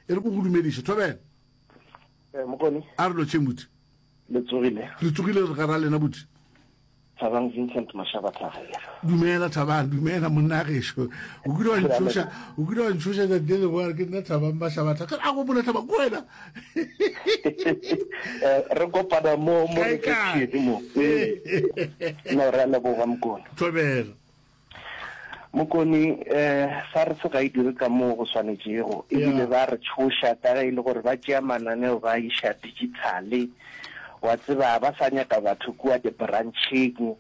E re ko go dumediše. Thobela. Eh, Mokone. A re lotšheng buti. Le tsogile. Re tsogile re gara lena buti. Thabang Vincent Mashaba Thagela. Dumela Thabang, dumela monna gešo. O kile wa ntšhoša, o kile wa ntšhoša tšatši le lengwe ke nna Thabang Mashaba Thagela. A gopola Thabang ke wena. Eh, re kopana mo mo re mo. Eh. No re a leboga Mokone. Thobela. Mokone, eh, SARS ga e dire ka moo go swanetšego, ebile ba re tšhoša ka ge e le gore ba tšea mananeo ba a iša digitale. Wa tseba, ba sa nyaka batho kua di-brancheng,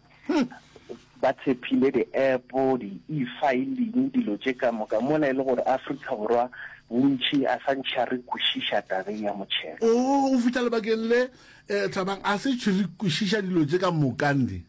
ba tshepile di-app, di-e-filing, dilo tše ka moka, mola e le gore Afrika Borwa bontši a sa ntšha re kwešiša tabeng ya motšhelo. Oo, o fihla lebakeng le, eh, Thabang, a se tšhe re kwešiša dilo tše ka moka, ndi.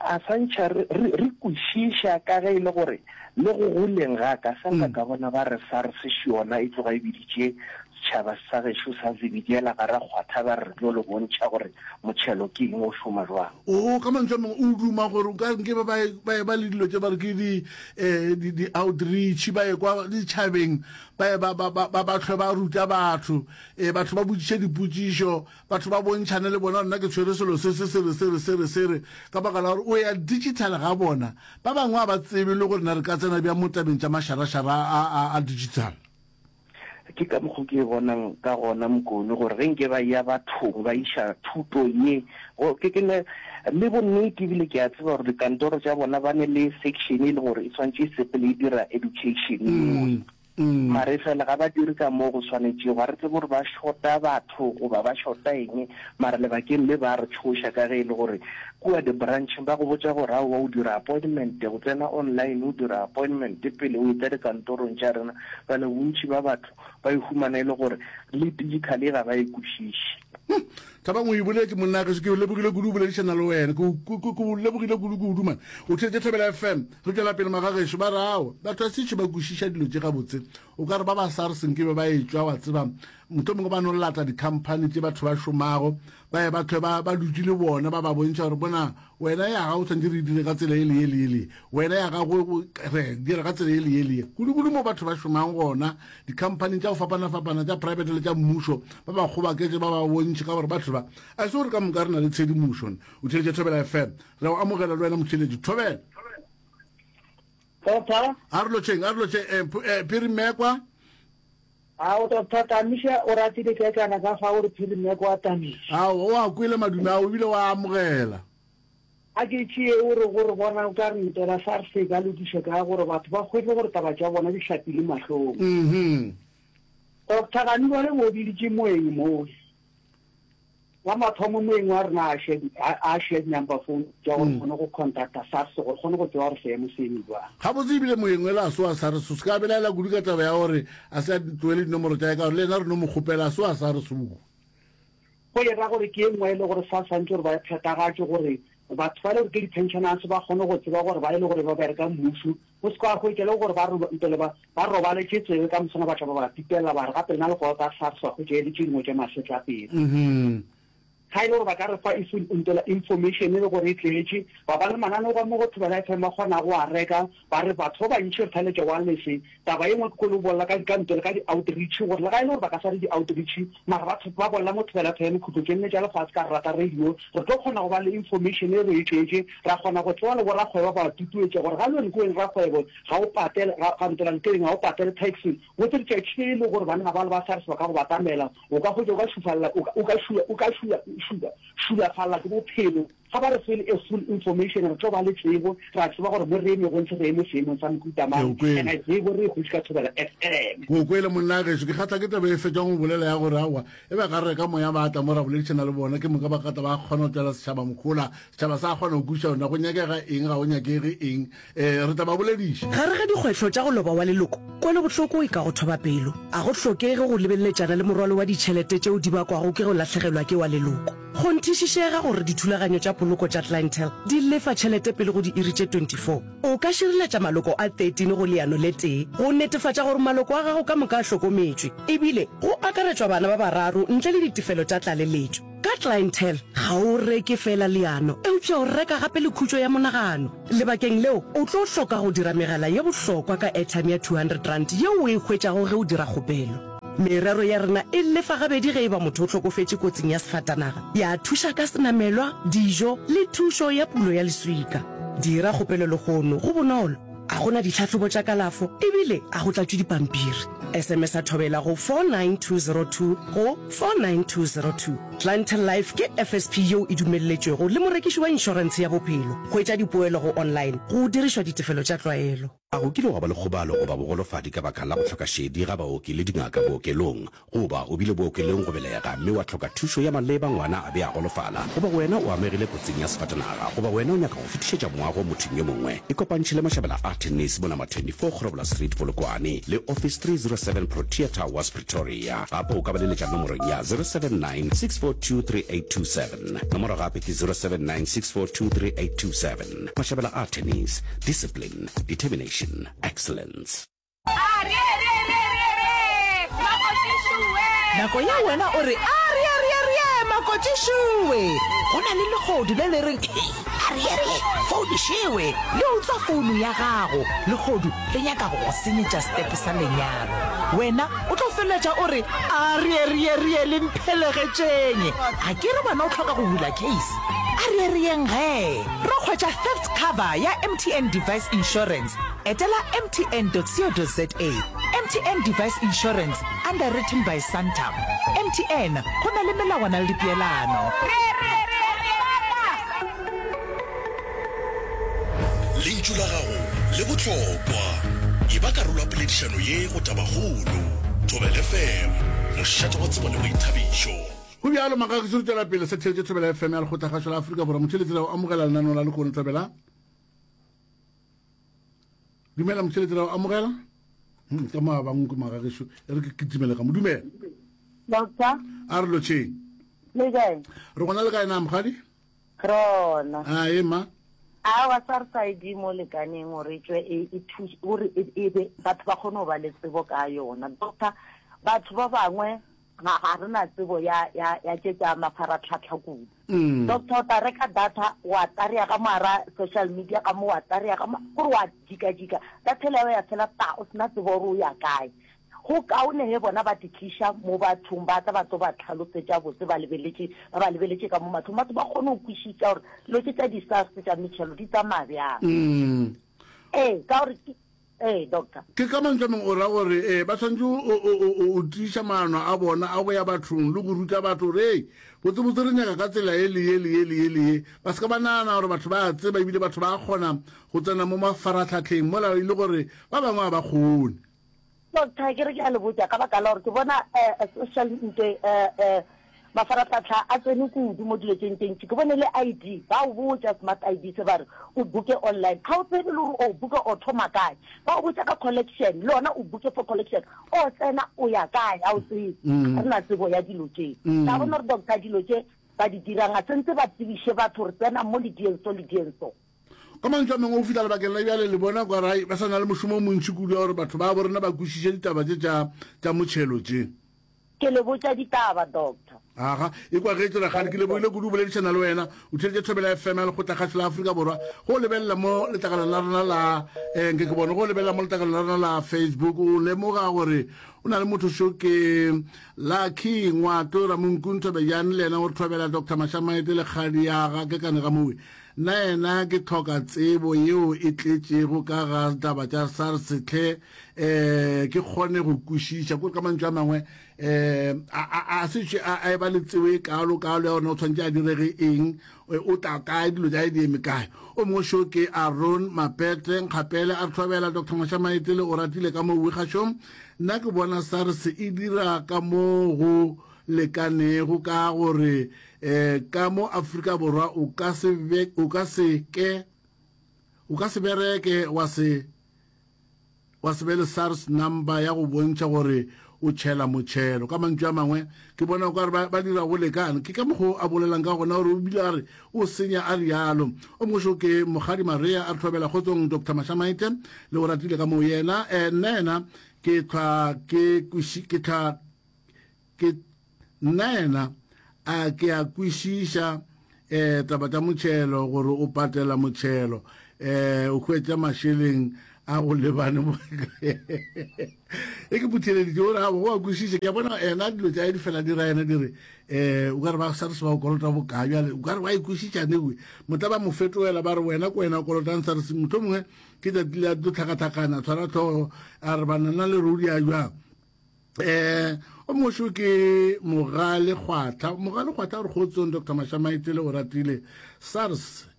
A sa ntšha re, re, re kwešiša ka ge e le gore le go goleng ga ka, sa nka ka bona ba re SARS še yona e tloga e biditše setšhaba sa gešo sa Zebediela ga ra kgwatha ba re re tlo le bontšha gore motšhelo ke eng o šoma jwang. Oo, ka mantšu a mangwe o duma gore o ka re nke ba ba ba eba le dilo tše ba re ke di, eh, di, di outreach, ba ye kwa ditšhabeng ba ye ba, ba, ba, ba, ba hlwe ba ruta batho, eh, batho ba botšiše dipotšišo, Batho ba bontšhane le bona, nna ke tshwere selo se, se, se re, se re, se re, se re, ka baka la gore o ya digital ga bona. Ba bangwe ga ba tsebe le gore na re ka tsena bjang mo tabeng tša mašarašara a, a, a digital. Ke ka mokgo ke e bonang ka gona, Mokone, gore ge nke ba eya bathong, ba iša thuto ye, go, ke, ke ne le bonnete ebile ke a tseba gore dikantoro tša bona ba ne le section e leng gore e swanetše e sepele e dira education yeo. Mara efela ga ba dire ka mo go swanetšego. Ga re tsebe gore ba shota batho goba ba shota eng, mara lebakeng le ba re tšhoša ka ge e le gore kua di-brancheng ba go botša gore aowa o dira appointment, o tsena online o dira appointment pele o etla dikantorong tša rena. Bjale bontši ba batho ba e humana e le gore le digital ye ga ba e kwešiše. Thabang o e boletše monna gešo, ke lebogile kudu go boledišana le wena, ke ke lebogile kudu kudu man. O theetše Thobela FM, re tšwela pele magagešo ba re aowa batho a sešo ba kwešiša dilo tše gabotse, o ka re ba ba SARS nke be ba etšwa wa tseba mohlomongwe ba no lata di-company tše batho ba šomago ba ye ba hlwe ba ba dutše le bona ba ba bontšha gore bona wena ya gago tshwanetse re dire ka tsela e le ye le ye le wena ya gago re dira ka tsela e le ye le ye kudu-kudu mo batho ba šomang gona dikhamphaning tša go fapana-fapana tša private le tša mmušo ba ba kgobaketše ba ba bontšhe ka gore batho ba a se gore ka moka re na le tshedimošo o theletše Thobela FM re o amogela le wena motheletši Thobela Doctor a re lotšheng a re lotšheng eh, eh, Phiri Mmekwa A o Doctor Tamiša o ratile kekana ka fa o re Phiri Mmekwa a Tamiša Ao o a kwele madume ao ebile wa amogela A ke tšee o re go re bona o ka re ntela SARS e ka lokišwa ka gore batho ba hwetše gore taba tša bona di hlapile mahlong. Mhm. Doctor Gani bale bo biditše moeng mowe. La mathomo moeng wa rena a share a share number phone tša gore kgone go contacta SARS gore kgone go tseba gore seemo se eme jwang. Gabotse ebile moeng wela a se wa SARS o se ka belaela kudu ka taba ya gore a se a tlohele dinomoro tša ka gore le yena re no mo kgopela a se wa SARS o. Go e ra gore ke e nngwe e le gore sa swantše gore ba e phethagatše gore batho ba e le gore ke di-pensioners ba kgone go tseba gore ba e le gore ba bereka mmušo, go se ka hwetša le gore ba ntele ba ba robaletše tsebe ka moswana ba tla ba ba pipella ba re gape lena le kolota SARS wa hwetša e le tše dingwe tša masetlapelo. Ga e le gore ba ka re fa ntela information e le gore e tletše, ba ba le mananeo ka mo go Thobela FM ba kgona go a reka, ba re batho ba bantši re thaletše wireless. Taba e nngwe ke kwele o bolela ka ka ntela ka di-outreach gore le ga e le gore ba ka sa re di-outreach mara ba ba bolela mo Thobela FM khutlo tše nne tša lefase ka re rata radio re tlo kgona go ba le information e re e tletše ra kgona go tseba le borakgwebo ba ba tutuetša gore ga le wene ke wene rakgwebo ga o patele ga ga ntela nteleng ga o patele tax botse letšatši le e le gore banna ba le ba SARS ba ka go batamela O ka hwetša o ka šufalla, o ka, o ka šula, o ka šula, šula, šulafalla ke bophelo. Ga ba re fe a full information, re tlo ba le tsebo, ra tseba gore mo re emego ntse re eme seemong sa mohuta Ke o mang, kwele. and tsebo re e hwetše ka Thobela FM. Ke o kwele monna gešo, ke kgahla ke taba e fetšang go bolela ya gore aowa e ba ga re reka moya ba tla mo ra boledišana le bona ke moka ba ka tla ba kgona go tšwela setšhaba mohola, setšhaba sa kgona go kwešiša gore na go nyakega eng ga go nyakege eng. Um re tla ba bolediša. Gare ga dikgwetlho tša go loba wa leloko, kwelobohloko e ka go thoba pelo. A go hlokege go lebeleletšana le morwalo wa ditšhelete tšeo di bakwago ke go lahlegelwa ke wa leloko. Kgonthišišega gore dithulaganyo tša poloko tša Clientele di lefa tšhelete pele go diiri tše 24. O ka šireletša maloko a 13 go leano le tee go netefatša gore maloko a gago ka moka a hlokometšwe, ebile go akaretšwa bana ba bararo ntle le ditefelo tša tlaleletšo. Ka Clientele, ga o reke feela leano, eupša o reka gape le khutšo ya monagano. Lebakeng leo, o tlo hloka go dira megala ye bohlokwa ka airtime ya R200 yeo o e hwetšago ge o dira kgopelo. Merero ya rena e lefa gabedi ge e ba motho o hlokofetše kotsing ya sefatanaga, ya thuša ka senamelwa, dijo le thušo ya pulo ya leswika. Dira kgopelo lehono, go bonolo, a go na ditlhahlobo tša kalafo ebile a go tlatšwe dipampiri. SMS-a Thobela go 49202 go 49202. Clientele Life ke FSP yeo e dumelletšwego le morekiši wa inšorentshe ya bophelo. Hwetša dipoelo go online go dirišwa ditefelo tša tlwaelo. A go kile gwa ba le kgobalo goba bogolofadi ka baka la go hloka šedi ga baoki le dingaka bookelong? Goba o bile bookelong go belega mme wa hloka thušo ya maleba ngwana a be a golofala? Goba wena o amegile kotsing ya sefatanaga? Goba wena o nyaka go fetišetša moago mothong yo mongwe? Ikopantšhe le Mashabela a Tennis mo Number 24 Grobler Street, Polokwane, le Office 307 Protea Towers, Pretoria. Gape o ka ba leletša nomorong ya 079 642 3827. Nomoro gape ke 079 642 3827. Mashabela a Tennis, Discipline, Determination, Excellence. Nako ye wena o re, Arieerierie, makotšišowe! Go na le lehodu le le reng, Arierie, founišewe! Le utswa founu ya gago. Lehodu le nyaka go go senyetša setepe sa lenyalo. Wena o tlo feleletša o re, Arieerierie, le mphelegetšeng! A ke re wena o hloka go bula case? Arierieng gee! Ro hwetša theft cover ya MTN Device Insurance. Etela mtn.co.za. MTN Device Insurance, underwritten by Santam. MTN, go na le melawana le dipeelano. Lentšu la gago le bohlokwa. Eba karolo ya poledišano ye go Tabakgolo. Thobela FM, mošate wa tsebo le boithabišo. Go bjalo, Magagiso re tšwela pele sa theetše Thobela FM ya Lekgotlakgašo la Afrika Borwa. Motheeletši ra o amogela lenaneo la lehono Thobela. Dumela motheeletši ra o amogela. Hmm, ka mo a bangwe ke magagišo e re ke kitimele ka mo dumela. Doctor. A re lotšheng. Le kae? Re gona le kae na mogadi? Rona. A e ma. Aowa SARS ID mo lekaneng gore e tšwe e e thuše gore e e be batho ba kgone go ba le tsebo ka yona. Doctor, batho ba bangwe ga ga re na tsebo ya ya ya tše tša mafaratlhatlha kudu. Mm. Doctor o tla reka data wa tarea ka moara social media ka mo wa tarea ka mo gore wa jika jika data ela ya fela ta o sena tsebo gore o ya kae. Go kaone ge bona ba di tliša mo bathong ba tla ba tlo ba tlhalosetša botse ba lebeletše ba ba lebeletše ka mo mahlong batho ba kgone go kwešiša gore dilo tše tša di-SARS tša metšhelo di tsamaya bjang. Mm. Ee, ka gore Ee, doctor. Ke ka mantšu a mangwe o ra gore ee, ba swanetše go tiiša maano a bona a go ya bathong le go ruta batho gore ei, botsebotse re nyaka ka tsela ye le ye le ye le ye le ye. Ba se ka ba nagana gore batho ba a tseba ebile batho ba kgona go tsena mo mafaratlhatlheng mola e le gore ba bangwe ga ba kgone. Doctor, ke re ke a le botša ka baka la gore ke bona eh, social nte eh, eh, mafaratlhatlha a tsene kudu mo dilo tše ntši. Ke bone le ID, ba o botša smart ID se ba re o booke online. Ga o tsebe le gore o booke o thoma kae. Ba o botša ka collection, le yona o booke for collection. O tsena o ya kae, ga o tsebe. Ga re na tsebo ya dilo tše. Ka bona gore doctor dilo tše ba di dirang ga sentse ba tsebiše batho gore tsenang mo le dieng so le dieng so. Ka mantšu a mangwe, go fihla lebakeng la bjale le bona kwa rai ba sa na le mošomo o montši kudu wa gore batho ba bo rena ba kwešiše ditaba tše tša tša motšhelo tše. Ke le botša ditaba, Doctor. Aga, e kwa ge Rakgadi, ke lebogile kudu go boledišana le wena. O theeditše Thobela FM ya Lekgotlakgašo la Afrika Borwa. Go lebelela mo letlakaleng la rena la eh, nke ke bone, go lebelela mo letlakaleng la rena la Facebook, o lemoga gore o na le motho šo ke Lucky Ngwato Ramonku Nthobejane, le yena o re thobela Doctor Mashamaete le kgadi ya ga Kekane ga Mowe. Nna yena ke hloka tsebo yeo e tletšego ka ga taba tša SARS hle um ke kgone go kwešiša. Kore ka mantšu a mangwe um a se tšwe a eba le tsebo e kaalo kaalo ya gore o tshwanetse a direge eng, o tla kae, dilo tša di eme kae. O mongwe šo ke Aron Mapete Nkgapele a re thobela Doctor Mashamaetele o ratile ka moo kgašong. Nna ke bona SARS e dira ka mo go lekanego ka gore um ka mo Afrika Borwa o ka se be, o ka se ke o ka se bereke wa se wa se be le SARS number ya go bontšha gore o tšhela motšhelo. Ka mantšu a mangwe ke bona o ka re ba, ba dira go lekane. Ke ka mokgwa o a bolelang ka gona gore o bile a re o senya a rialo. O mongwe šo ke Mokgadi Maria a re thobela kgotsong Doctor Mashamaite le o ratile ka moo yena eh, nna yena ke tlhwa ke kweši ke tlhwa Ke, nna yena, a ke a kwešiša eh, taba tša motšhelo, gore o patela motšhelo, eh, o hwetša mašeleng. a go lebane mo e ke motheleditše o re ga go a kwešiše ke a bona ena dilo tša di fela di ra ena di re um o ka re ba SARS ba o kolota bokae bjale o ka re ba e kwešiša newe motla ba mo fetoela ba re wena ko wena o kolotang SARS mohlomongwe ke tsatsi le a tlo tlhakatlhakana tshwara tlhogo a re banana le rodi a jwang um o mošo ke mogale kgwatha mogale kgwatha gore kgotsong dr mashamaitele o ratile sars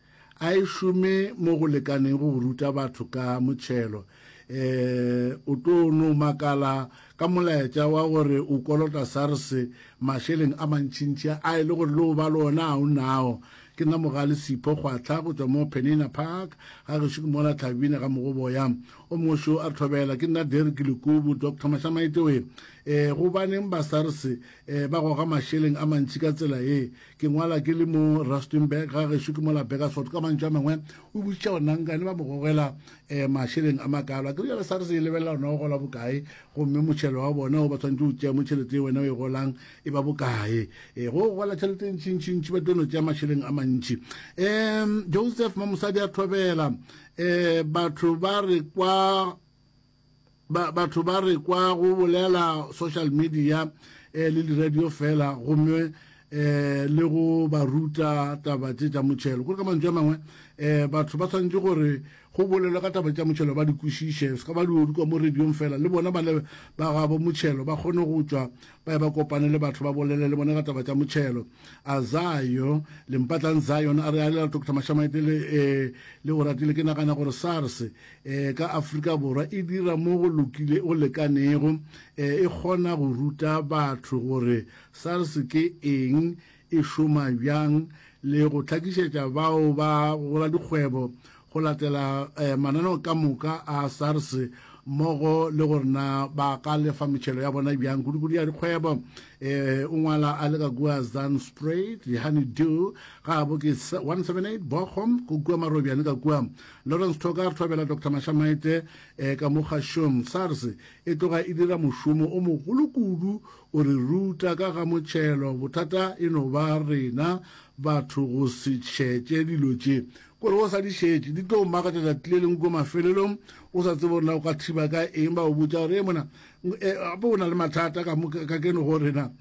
a e šome mo go lekaneng go ruta batho ka motšhelo um o tlo no makala ka molaetša wa gore o kolota sars mašeleng a mantšintši a e le gore le o ba le ona a o nao Ke nna Mogale Sipho Kgwahla go tšwa mo Penina Park, ga gešo ke mola Tlhabine ga Mogoboya. O mongwe šo a re thobela, ke nna Derrick Lekubu, Doctor Mashamaite we. E, gobaneng ba SARS e, ba goga mašeleng a mantši ka tsela ye? Ke ngwala ke le mo Rustenburg, ga gešo ke mola Burgersfort. Ka mantšu a mangwe o botšiša gore nankane ba mo gogela e, mašeleng a makalo. A ke re bjale SARS e lebelela gore na o gola bokae, gomme motšhelo wa bona o ba tshwanetše go tšea mo tšhelete ye wena o e golang e ba bokae e go gola tšhelete e ntšintšintši ba tlo no tšea mašeleng a mantši um joseph mamosadi a thobela um batho ba re kwa ba, batho ba re kwa go bolela social media eh, le di-radio fela gomme eh le go ba ruta taba tše tša motšhelo kore ka mantšu a mangwe eh batho ba tshwanetse gore Go bolelwa ka taba tša motšhelo ba di kwešiše, se ka ba di kwa mo radiong fela, le bona ba le ba gabo motšhelo ba kgone go tšwa ba ye ba kopane le batho ba bolele le bona ka taba tša motšhelo. Azayo Lempatlang Zion a re a lela Doctor Mashamaite le eh, le o ratile ke nagana gore SARS eh, ka Afrika Borwa e dira mo go lokile go lekanego eh, e kgona go ruta batho gore SARS ke eng e šoma bjang le go hlakišetša bao ba boradikgwebo go latela mananeo ka moka a SARS mmogo le gore na ba ka lefa metšhelo ya bona bjang, kudukudu ya dikgwebo. O ngwala a le ka kua Zandspruit, Honeydew, ga bo ke 178 Bochum, go kua Marobjane ka kua. Lawrence Thoka a re thobela Doctor Mashamaite ka mo kgašong. SARS e tloga e dira mošomo o mogolo kudu O re ruta ka ga motšhelo. Bothata e no ba rena batho go se šetše dilo tše. Kore o sa di šetše, di tlo o makatša tšatši le lengwe kua mafelelong, o sa tsebe gore na o ka thiba ka eng. Ba o botša gore, Ee mona, gape o na le mathata ka mo ka keno go rena.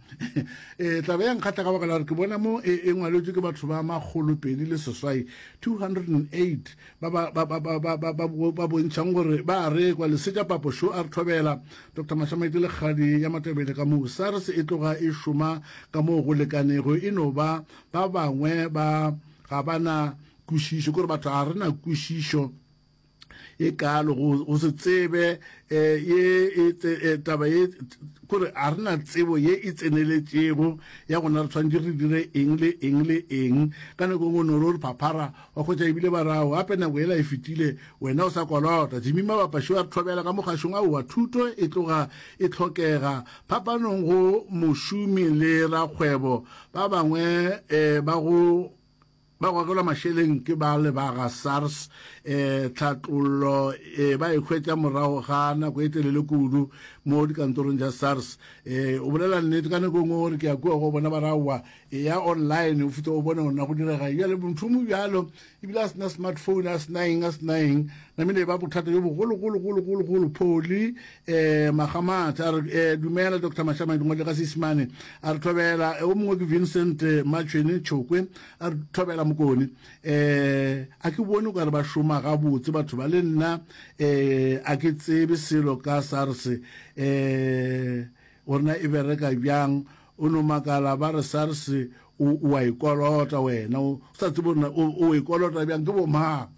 E, taba ya nkgahla ka baka la gore ke bona mo e, e ngwaletšwe ke batho ba makgolopedi le seswai, 208, ba ba ba ba ba ba ba ba ba bontšhang gore ba a rekwa. Lesetša Papo šo a re thobela. Doctor Mashamaite Lekgadi ya Matebele ka moo SARS e tloga e šoma ka moo go lekanego, e no ba ba bangwe ba ga ba na kwešišo, ke gore batho ga re na kwešišo e kalo go, go se tsebe eh, ye e, eh, taba ye kore ga re na tsebo ye e tseneletšego ya gona re tshwanetse re dire eng le eng le eng. Ka nako e nngwe o no re o re phaphara wa hwetša ebile ba rago gape nako yela e fetile wena o sa kolota. Jimmy Mabapa šo a re thobela ka mo kgašong, aowa thuto e tloga e hlokega phapanong go mošomi le rakgwebo. Ba bangwe eh, ba go ba gogelwa mašeleng ke ba le ba ga SARS eh, tlhatlollo eh, ba e hwetša morago ga nako e telele kudu mo dikantorong tša SARS. Eh, o bolela nnete ka nako e nngwe gore ke ya kua go bona ba raowa Eya online o fihle o bone gore na go direga eng. Bjale motho o mo bjalo ebile a sena smartphone a sena eng a sena eng namile e ba bothata jo bogologologologologolo. Pholi um Magamatha a re um dumela Doctor Mashama dingwale ka Seisemane a re thobela. O mongwe ke Vincent Matšhwene Tšhokwe a re thobela Mokone. Um a ke bone o ka re ba šoma gabotse batho ba le nna um a ke tsebe selo ka SARS um gore na e bereka bjang. O no makala ba re SARS o, o a e kolota wena, o sa tsebe gore o, o e kolota bjang, ke bomang?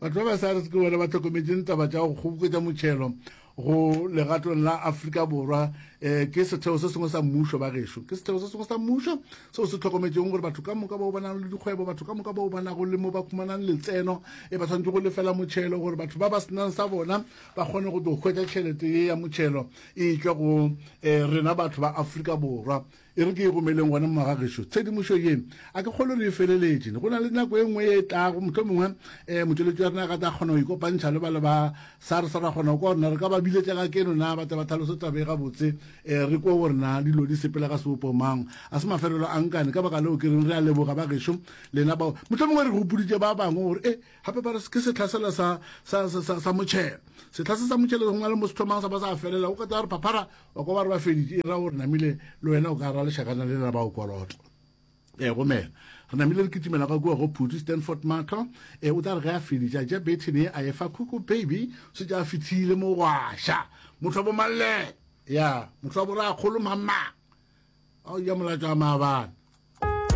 Batho ba ba SARS ke bona ba hlokometšeng taba tša go kgoboketša motšhelo go legatong la Afrika Borwa. Eh, ke setheo se sengwe sa mmušo ba gešo, ke setheo se sengwe sa mmušo seo se hlokometšeng gore batho ka moka bao ba nago le dikgwebo, batho ka moka bao ba nago le mo ba khumanang letseno, e ba tshwanetse go lefela motšhelo gore batho ba ba senang sa bona ba kgone go tlo hwetša tšhelete ye ya motšhelo e tšwa go eh, rena batho ba Afrika Borwa. E re ke e romeleng gona mo magagešo tshedimošo ye, a ke kgolo re e feleletše. Go na le nako e nngwe e tlago, mohlomongwe um motšweletši wa rena a ka tla kgona go ikopantšha le ba le ba SARS, ra kgona go kwa gore na re ka ba biletša ka keno na ba tle ba tlhalose taba e gabotse. um re kwe gore na dilo di sepela ka sebopo mang. A se mafelelo a nkane, ka baka leo ke reng re a leboga ba gešo lena bao. Mohlomongwe re gopoditše ba bangwe gore e gape ba re ke setlha sela sa, sa, sa, sa, sa motšhelo. Setlha se sa motšhelo go na le mo se thomang sa ba sa felela, o ka tla re phaphara wa kwa ba re ba feditše, e ra gore namile le wena o ka ra lešakana le la ba o koloto. E gomela. Re namile re kitimela ka kua go Phuti Stanford Matlo. E o tla re ge a feditše a tša bethene ye a e fa Khuku Baby, šetše a fithile mogwaša. Motho wa bomalle. Ya, motho wa borakgolo mamang. A o ja molatšo wa maabane.